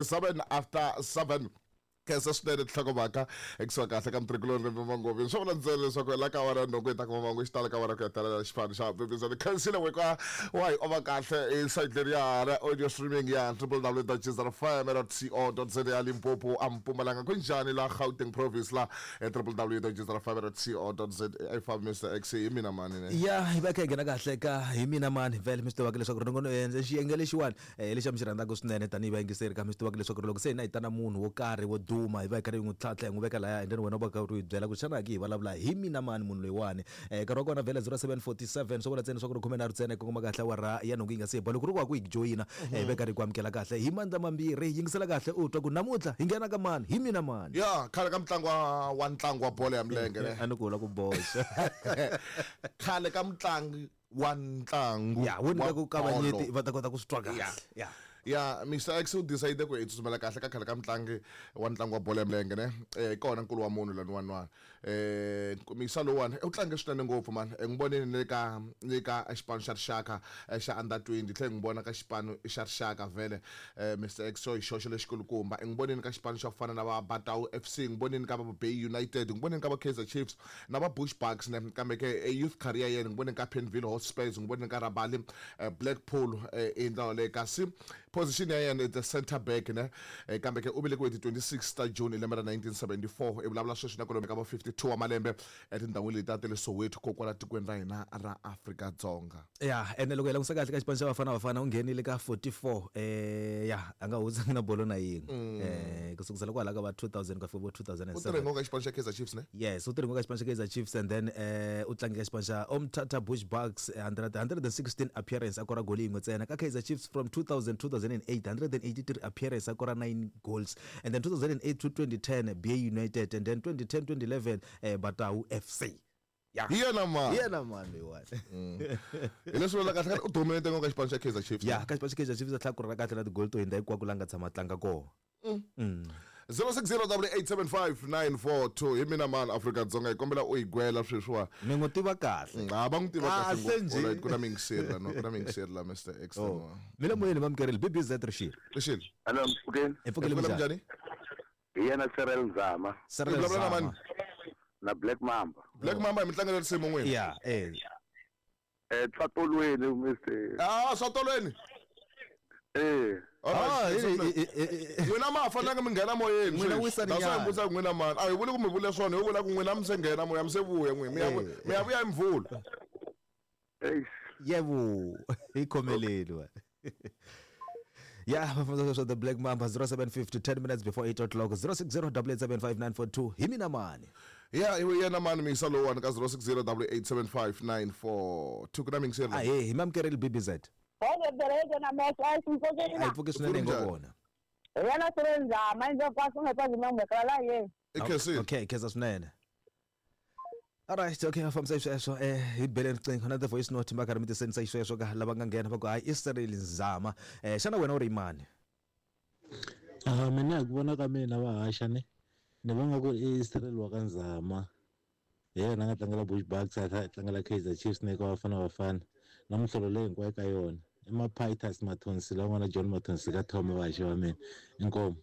7 after 7. Khensa swinene tinhlokomhaka ekusuka kahle ka mutirhikuloni Rimbe Mangovi. Swo vula ntsena leswaku la ka wena nhungu yi ta kuma mangu xitalo ka wena ku ya talela xipano xa bibizani. Khensile we ka wa hi ova kahle hi site leriya ra audio streaming ya www.jizrfm.co.za ya Limpopo a Mpumalanga ku njhani la Gauteng province la www.jizrfm.co.za a yi fambi Mr X hi mina mani ne. Ya hi va kha hi nghena kahle ka hi mina mani vhele mi swi tivaka leswaku ri nongono xiyenge lexiwani Eh, lexi mi xi rhandzaka swinene tanihi vayingiseri ka mi swi tivaka leswaku loko se hina hi ta na munhu wo karhi wo duma hi va hi karhi hi n'wi tlhantlha hi n'wi veka laya and then wena u va karhi u hi byela ku xana ki hi vulavula hi mina mani munhu loyiwani um nkarhi wa kona vhele 0747 swo vula ntsena leswaku ri khumenharhu ntsena yi kongoma kahle awara ya nhungu yi nga se ba loko ri ku wa ku hi joyina eh, hi va karhi hi ku amukela kahle hi mandla mambirhi yingisela kahle u twa ku namuntlha hi nghena ka mani hi mina mani ya khale ka mutlangi wa ntlangu wa bolo ya milenge ne a ni ku la ku boxa khale ka mutlangi wa ntlangu ya wo nyika wa ku kavanyeti bolo. Va ta kota ku swi twa kahle. Ya. Ya, Mr X u decide ku hi tsutsumela kahle ka khale ka mutlangi wa ntlangu wa bolo ya milenge ne eh kona nkulu wa munhu laniwani wani eh misa lowani u tlange swinene ngopfu mani n'wi vonile ni le ka ni ka xipano xa rixaka xa under 20 tlhe n'wi vona ka xipano xa rixaka vhele eh Mr X so hi xoxo lexikulukumba n'wi vonile ka xipano xa ku fana na va Batau FC n'wi vonile ka va Bay United n'wi vonile ka va Kaizer Chiefs na va Bush Bucks ne kambe ke e youth career ya yena n'wi vonile ka Penville Hotspurs n'wi vonile ka Rabali Blackpool hi ndlela yoleyo kasi position ya yena i the center back ne kambe ke u velekiwe hi ti 26 ta June hi lembe ra 1974 i vulavula sweswi na kwalomu ka va 52 wa malembe etindhawini leti ta le Soweto ko kwala tikweni ra hina ra Afrika-Dzonga. Ya ene loko hi langutisa kahle ka xipano xa Bafana Bafana u nghenile ka 44 ya a nga hundzangi na bolo na yin'we ku sukusela kwala ka va 2000 ku ya fika vo U tirhe 2007. ngopfu ka xipano xa Kaizer Chiefs ne? Yes, u tirhe ngopfu ka xipano xa Kaizer Chiefs and then u tlange ka xipano xa Umtata Bush Bucks 100 116 appearance a kora goli yin'we ntsena ka Kaizer Chiefs from 2000 2008 183 appearance a kora 9 goals and then 2008 to 2010 BA United and then 2010 2011 Batau FC. Ya. Hi yena mani. Hi yena mani loyiwani. Hi leswi vulaka kahle u dominate ngopfu ka xipano xa Kaizer Chiefs. Ya, ka xipano xa Kaizer Chiefs a tlhela a kurha kahle na tigoli to hundza hinkwako la nga tshama a tlanga kona. 0608875942 hi mina mani Afrika-Dzonga hi kombela u hi gwela sweswiwa. Mi n'wi tiva kahle. Ha va n'wi tiva kahle Kahle ngopfu. njhe. Alright, ku na miyingiseri la no, ku na miyingiseri la Mr X. Oh. Mi le moyeni vamukerile BBZ Rixile. Rixile. Hello, mpfukeni. Hi pfukile Hi pfukile minjhani? minjhani? Hi yena Cyril Nzama. Cyril Hi vulavula na Nzama. mani? Na Black Mamba. Black Mamba hi mitlangu ya risimu n'wina. Ya, eh. Tswatolweni Mr. Ah, Swatolweni. Eh. Ah, Alright. N'wina ma ha fanelanga mi nghena moyeni. N'wina sweswi. wisani That's why nyana. hi vutisa ku n'wina mani. A hi vuli ku mi vule swona, hi vula ku n'wina mi se nghena moya, mi se vuya n'wina. Mi ya mi ya vuya hi Mvhulu. Eish. Yebo, hi khomeleni wa. Ya, va fambisa sweswo The Black Mamba 0750 10 minutes before 8 o'clock 0608875942 hi mina mani. Ya, hi yena mani miyisa lowuwani ka 0608875942 ku na miyingiseri. A he, hi mamukerile BBZ. Bolo bereke na mehlo a A hi ximfokeni. pfuki swinene Pfukile ngo njhani? vona. Yena Sirenzama inze kwasi ungekwazi nomekala la ye. I khensile. Okay, khensa swinene. Alright, okay, va fambisa xisweswo hi bele riqingho na the voice note va karhi mi tisendisa xisweswo ka lava nga nghena va ku hayi i Cyril Nzama. Xana wena u ri mani? Ah, mina hi ku vona ka mina va haxa ni ni vona ku i Cyril wa ka Nzama hi yena a nga tlangela Bush Bucks a tlhela a tlangela Kaizer Chiefs na eka Bafana Bafana na minhlolo leyi hinkwayo ka yona i Maphitus Mathonsi la n'wana John Mathonsi ka Thoma vahaxi va mina inkomu.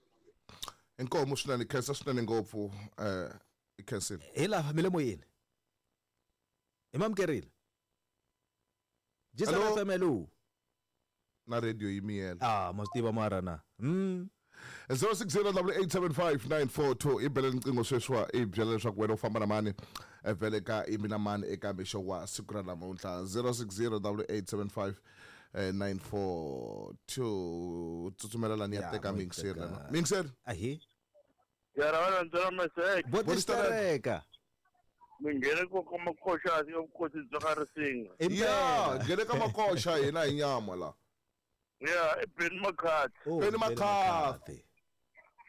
Inkomu swinene, khensa swinene ngopfu i khensile. Hi lava mi le moyeni. Hi mamukerile. Jisa Hello? FM hello. Na radio yi miyela. Ah, ma swi tiva mara na. 0608875942 i bele riqingho sweswiwa i byela leswaku wena u famba na mani vhele ka i mina mani eka mixo wa siku ra namuntlha 0608875942 tsutsumela lani ya Ya, teka mo yi miyingiseri teka. lana miyingiseri Ahi. Ya ra wena ntsena Masek. Bo tistereka. Mi nghene ko ka makoxa ya vukosi bya ka Risinga. Ya nghene ka makoxa hina hi nyama la. Ya, i Benny McCarthy. Oh, Benny McCarthy.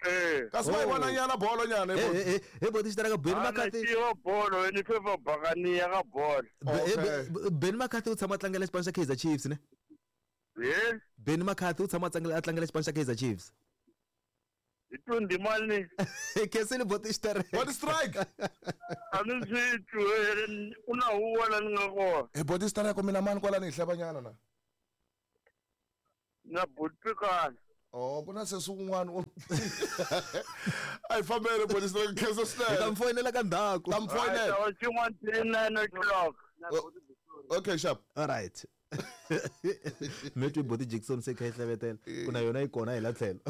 Eh. Kasi ma yi vona nyana bolo nyana Eh eh eh bo tistereka Benny McCarthy. Ana bolo ni favor Buccaneer ka bolo. Benny McCarthy u tshama a tlangela xipano xa Kaizer Chiefs ne? Yes. Benny McCarthy u tshama a tlangela a tlangela xipano xa Kaizer Chiefs. Hi 20 mali. Khensile bo tistereka. Body strike. A ni swi twi ku na huwa la ni nga kona. Hi body strike mina mani kwalani hi hleva nyana na. Na butpikana. Oh, ku na sesi wun'wana a hi fambele police ra khensa Hi ta swinene. mi foyinela ka ndzhaku. Ta mi foyinela. Xin'wana 9 o'clock. Okay, sharp. All right. Mi twi Boti Jackson se kha yi hlevetela ku na yona yi kona hi la tlhelo.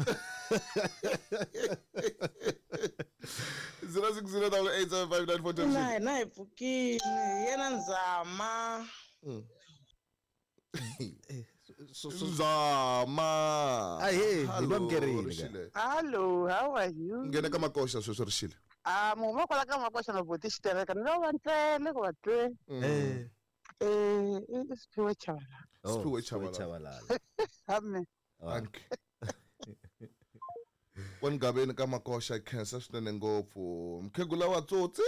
0608875942. Na hina hi pfukile hi yena Nzama. Zama. Ahee, hi Hello, va amukerile ka. Rixile. Hello, how are you? Nghena ka makoxa sweswi Rixile. Ah, mu huma kwala ka makoxa na boti xitereka ni lo va ntsele ku va twe. Eh. Eh, i Siphiwe Chabalala. Oh, Siphiwe Chabalala. Chabalala. Amen. Thank you. Kwani ka makoxa khensa swinene ngopfu. Mkhegula wa tsotsi.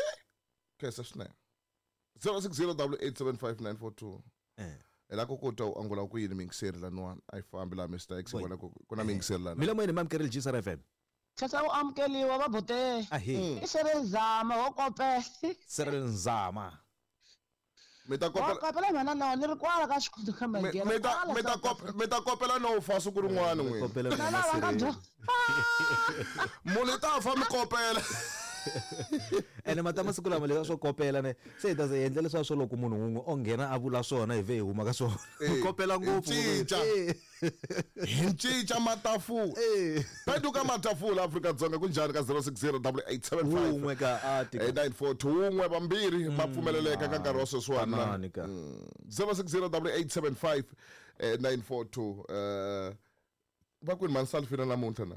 Khensa swinene. 0608875942. Eh. Hi la ku ku twa u angula ku yini mingiseri laniwani a yi fambi laha Mr X Boy. vona ku ku na mingiseri lana. Mila moyeni mamkerile GSR FM. Khensa ku amukeliwa va bote. Ahee. I Cyril Zama wo kopela. Cyril Nzama. Mi ta Wo kopela kopela mhana na ni ri kwala ka xikhundzu ka mi mi ta mi ta kop- mi ta kopela no fa siku rin'wana n'wina. Kopela Na lava nga Cyril. dyo. Munhu i ta fa mi kopela. Ene mata masiku lama leswi swo kopela ne se hi ta se endla leswiya swo loko munhu wun'we o nghena a vula swona hi vhe hi huma ka swona. Eh, Ku kopela hi ngopfu. cinca. Eh. Hi cinca matafula. Eh. Phenduka matafula Afrika-Dzonga kunjhani ka 06088759 Wun'we ka a tika. 942 wun'we vambirhi ma pfumeleleka ka nkarhi wa sweswiwani na Tanani ka. 0608875942 va kwini mansalfina namuntlha na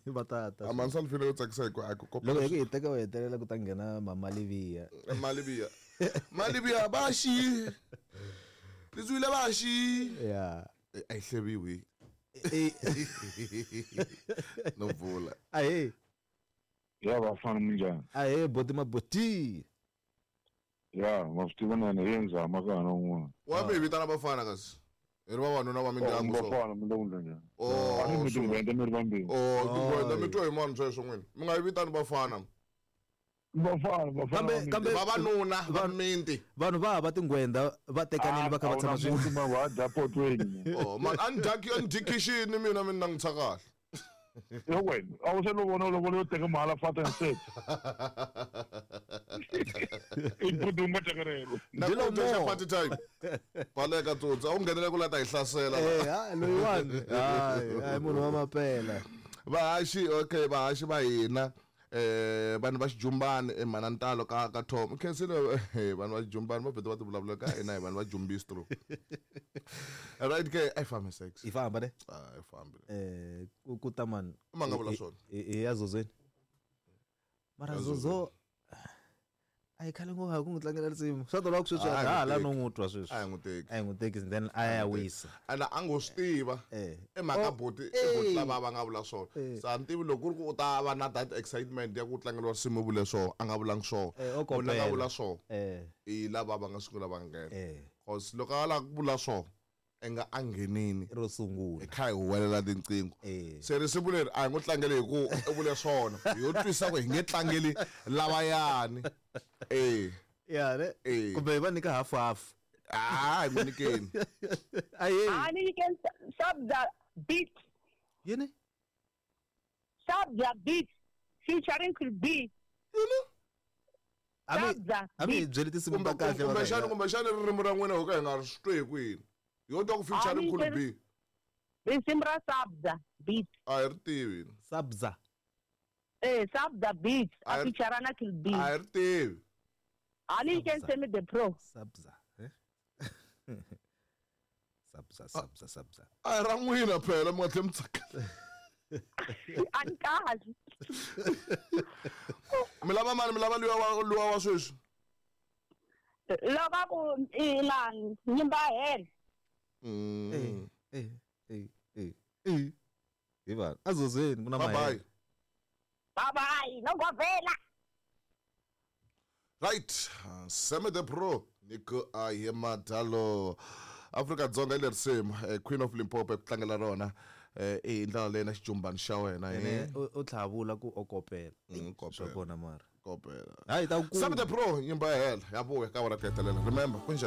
Va tata. a mansalfina yo tsakisa hi ku a ku Loko hi kopela ku hi teka u hetelela ku ta nghena Mama Livia. malibiya malibiya ba xi litswile ba xi Yeah. a yi hleviwi Eh. no vula Ahee. Ya vafana minjhani? Ahee boti maboti. Ya ma swi tiva na yena hi Nzama ka hana un'wana. wa mi hi vitana vafana kasi hi ri vavanuna va mindyangu so Vafana mi le ku ndla njhani? A ni oh mi tinghwenda mi ri vambirhi. oh tinghwenda mi twa hi mani sweswo n'wina mi nga yi vitani vafana Vafana vafana. Kambe kambe vavanuna va miti vanhu va hava tinghwenda va tekanile va kha va tshama swin'we. swin'we. Va dya potweni. oh man a ni dyaki a ni dyi khixini mina mi ni langutisa kahle Yo wena, a wu se lo vona lovola yo teka mahala fata and set. I budumba teka rero. na Ndzi lo ku dya xa mo. party time baleka tsotsi a wu nghenele ku la ta hi hlasela Eh, ha loyiwani. Hayi, hayi munhu wa mapela. vahaxi okay vahaxi va hina vanhu va xijumbani emhanantalo ka ka Tom khensile vanhu va xijumbani va vhete va ti vulavula ka hina hi vanhu va jumbistro right ke a yi fambi sex Hi famba ne? a yi fambi Eh, ku ta mani. Ma nga vula swona. Hi ya Zozweni. Mara Ya Zozo a hi khale ngopfu hi ku n'wi tlangela risimu. Swa tolova ku sweswi A hi a ha n'wi la teki. no n'wi twa sweswi. a hi n'wi teki A hi n'wi teki then a ya wisa. ene a ngo swi tiva Eh. i mhaka Oh, boti i eh. boti lava va nga vula swona Eh. se a ni tivi loko ku ri ku u ta va na that excitement ya ku tlangeriwa risimu u vule swona a nga vulangi swona Eh, o munhu a nga kopela. vula swona Eh. i lava va nga sungula va nghena Eh. cause loko a lava ku vula swona i nga a nghenini Ro sungula. hi kha hi huwelela tinqingho Eh. se risimu leri a hi ngo tlangeli hi ku u vule swona hi yo twisa ku hi nge tlangeli lavayani e Ya ne? Eh. Kumbe hi va nyika half half. a hi n'wi nyikeni Ahee. Ani you can stop the beat. Yini? Stop the beat. Featuring could be. A mi Stop the a mi hi beat. byeli tinsimu ta kahle va ka kumbexani hina. kumbexani ririmi ra n'wina ho ka hi nga ri swi twi hi kwini yo twa ku featuring Ani Cool can- B Risimu ra Stop the beat. a hi ri tivi Sabza. Eh, stop the beat. A I- feature na could be. a hi ri tivi Ani you can Sabza. send me the pro. Sabza. Eh? Sabza, sabza, sabza. a hi ra n'wina phela mi nga tlhe mi tsakela Ani kahle. mi lava mani mi lava luwa wa sweswi Loko a ku inani nyimba hela. Mm. Eh, eh, eh, eh. Hi vanhu. Azozweni ku na bye bye mahele. Bye bye. No govela. Right, Seme the Pro, Nico Ayemadalo. Afrika Dzonga hi le risimu, Queen of Limpopo ku tlangela rona i ndlela leyi na xijumbani xa wena Eh, yini u tlhavula ku o kopela. Mm, Swa kopela kona mara. kopela. Hayi ta ku Seme the Pro nyimba ya hela ya vuya ka wena ku hetelela. Remember kunjhani?